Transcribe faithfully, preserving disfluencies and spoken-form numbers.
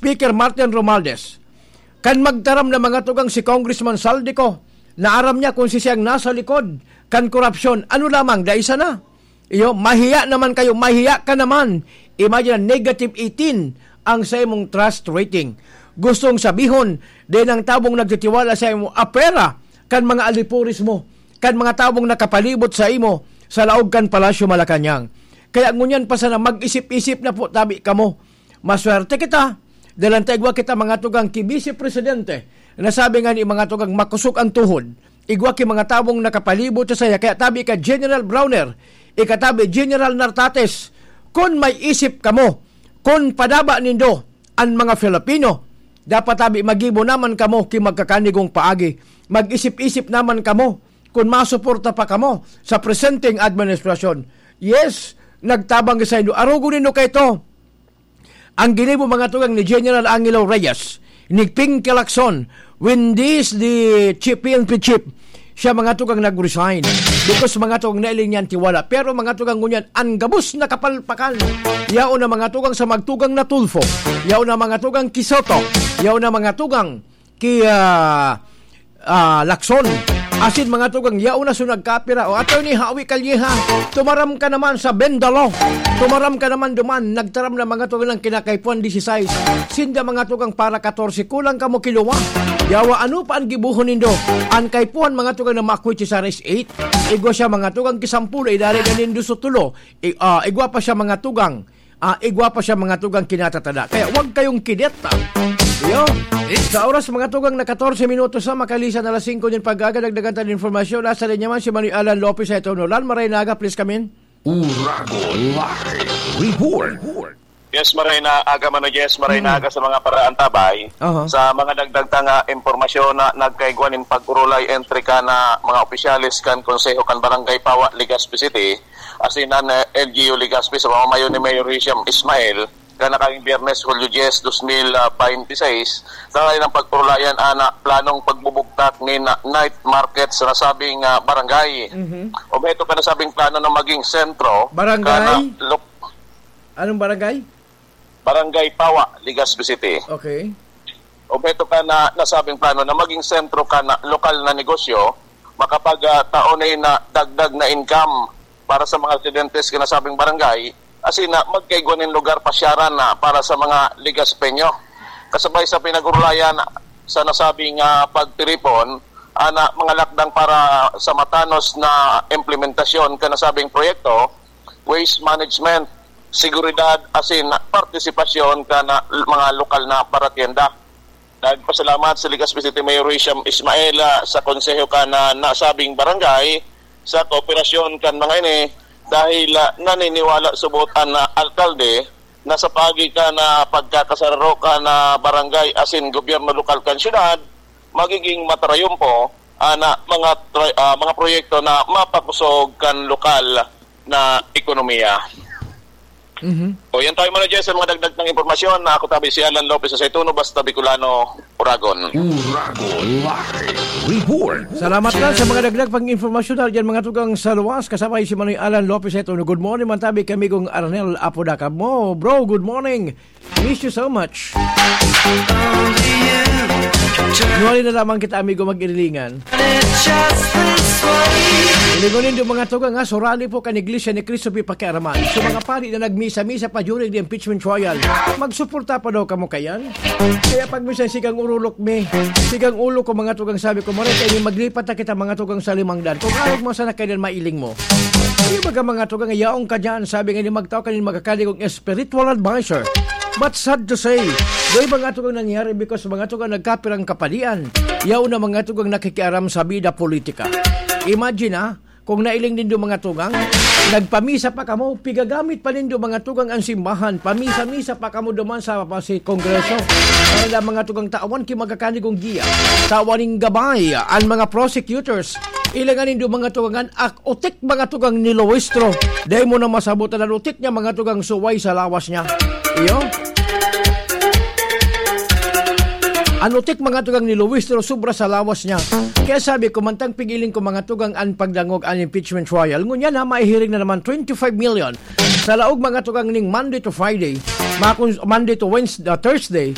Speaker Martin Romualdez. Kan magtaram na mga tugang si Congressman Zaldy Co, na aram niya kung si siyang nasa likod kan korupsyon. Ano lamang, dai sana? Iyo, mahiya naman kayo, mahiya ka naman. Imagine, negative eighteen ang sa imong trust rating. Gustong sabihon, din ang tabong nagtitiwala sa imong apera kan mga alipuris mo, kan mga tabong nakapalibot sa imo sa laog kan Palasyo Malacañang. Kaya ngunyan pa sana, mag-isip-isip na po tabi kamo. Maswerte kita, dahil ang taigwa kita mga tugang ki Vice Presidente, nasabi nga ni mga tugang makosog ang tuhod, igwa ki mga tabong nakapalibot sa saya, kaya tabi ka General Browner, ikatabi General Nartates, kun may isip kamo, kun padaba nindo an mga Filipino, dapat tabi magibo naman kamo ki magkakanigong paagi, mag-isip-isip naman kamo kun masuporta pa kamo sa presenteng administrasyon. Yes, nagtabang sa indo. Arugo nindo kay to. Ang ginibo mga tugang ni General Angelo Reyes, ni Ping Lacson, when this the chief, P N P chief, siya mga tugang nag-resign. Because mga tugang nailing niyan tiwala. Pero mga tugang ngunyan, ang gabos na kapalpakan. Yaon na mga tugang sa magtugang na Tulfo. Yaon na mga tugang ki Soto. Yaon na mga tugang ki, ah, ah, Lacson. Asin mga tugang, yaon na so nagkapira. O, Attorney Howie Calleja, tumaram ka naman sa Bendalo. Tumaram ka naman duman. Nagtaram na mga tugang ng kinakaipuan disisais. Sinda mga tugang para katorse, kulang kamo kiluwa. Yawa, ano pa ang gibuhon nindo? Ang kaipuhan mga tugang na makwit sa S eight. Igwa siya mga tugang kisampulo, idari na nindo sa tulo. I-, ah, igwa pa siya mga tugang. Ah, igwa pa siya mga tugang kinatatada. Kaya wag kayong kidet, ah. Yo. Sa oras mga tugang na katorse minutos na, makalisan alas singko din pag-aga, dagdagan tayo ng informasyon. Nasa linya man si Manoy Alan Lopez sa ito, no? Lan, maray na aga, please come in. Uragon Live Report. Yes, maray na aga, Mano Jess. Maray na aga sa mga paraantabay. Aha. Sa mga dagdag ta nga impormasyon na nagkaigwa nin pag-urulay entre ka na mga opisyales kan Konseho kan Barangay Pawa, Legazpi City, asin an, eh, L G U Legazpi sa pamamayo ni Mayor Hisham Ismail, kanakang Biyernes, Hulyo diyes, dos mil baynte seis, tanganing pag-urulayan ana planong pagbubugtak nin night market sa nasabing, ah, barangay. Mhm. Obheto kan nasabing plano na maging sentro Barangay? Kana lok- Anong barangay? Barangay Pawa, Legazpi City. Okay. Obheto kan nasabing plano na maging sentro kan lokal na negosyo, makapag, ah, tao na na dagdag na income para sa mga residentes kan nasabing barangay, asin na magkaigwa nin lugar pasyaran na para sa mga Legazpeño. Kasabay sa pinag-urulayan sa nasabing, ah, pagtiripon, ana mga lakdang para sa matanos na implementasyon kan nasabing proyekto, waste management, seguridad, asin partisipasyon kan mga lokal na paratienda. Nagpasalamat si Legazpi City Mayor Hisham Ismail, ah, sa konseho kan nasabing barangay sa kooperasyon kan mga ini dahil, ah, naniniwala subot an, ah, alkalde na sa paagi kan, ah, pagkakasararo kan, ah, barangay asin gobyerno lokal kan syudad, magiging matarayumpo an, ah, mga tra-, ah, mga proyekto na mapakusog kan lokal na ekonomiya. Mhm. O, yan tayo muna, Jess, sa mga dagdag ng impormasyon. Na ako tabi si Alan Lopez sa Saituno, basta Bicolano, Uragon. Uragon Live Report. Salamat lang sa mga dagdag pang impormasyon na dyan, mga tugang sa luwas. Kasabay si Manoy Alan Lopez sa Saituno. Good morning, man tabi kami kong Arnel Apodaca mo. Bro, good morning. Miss you so much. Nuwari na lamang kita, amigo, mag-irilingan. Ilingon nindo, mga tugang, ha, surali po kan Iglesia ni Cristo pi pakiaraman. So, mga pari na nagmisa-misa pa during the impeachment trial, magsuporta pa daw kamo kayan? Kaya pag minsan sigang urulok mi, sigang ulo ko, mga tugang, sabi ko, "Mare, kayo maglipat na kita, mga tugang, sa limang daan." Kung arog mo sana kailan mailing mo. Di ba ka, mga tugang, yaong ka dyan, sabi nga ni magtao kanin magkakaligong spiritual advisor. But sad to say, di ba nga tugang nangyari because mga tugang nagkapirang kapalian? Yaon na mga tugang nakikiaram sa bida politika. Imagine, ah, kung nailing nindo mga tugang, nagpamisa pa kamo, pigagamit pa nindo mga tugang ang simbahan, pamisa-misa pa kamo duman sa, pa si Kongreso. Para lang mga tugang tawan ki magkakanigong giya, tawan ning gabay, ang mga prosecutors, ilangan nindo mga tugang an ak-, utik mga tugang ni Luistro. Dai mo na masabutan an utik niya mga tugang suway sa lawas niya. Iyo. An utik mga tugang ni Luistro sobra sa lawas niya. Kaya sabi ko, mantang pigiling ko mga tugang an pagdangog an impeachment trial. Ngunyan na maihiring na naman twenty-five million sa laog mga tugang ning Monday to Friday. Mga kun-, Monday to Wednesday, uh, Thursday.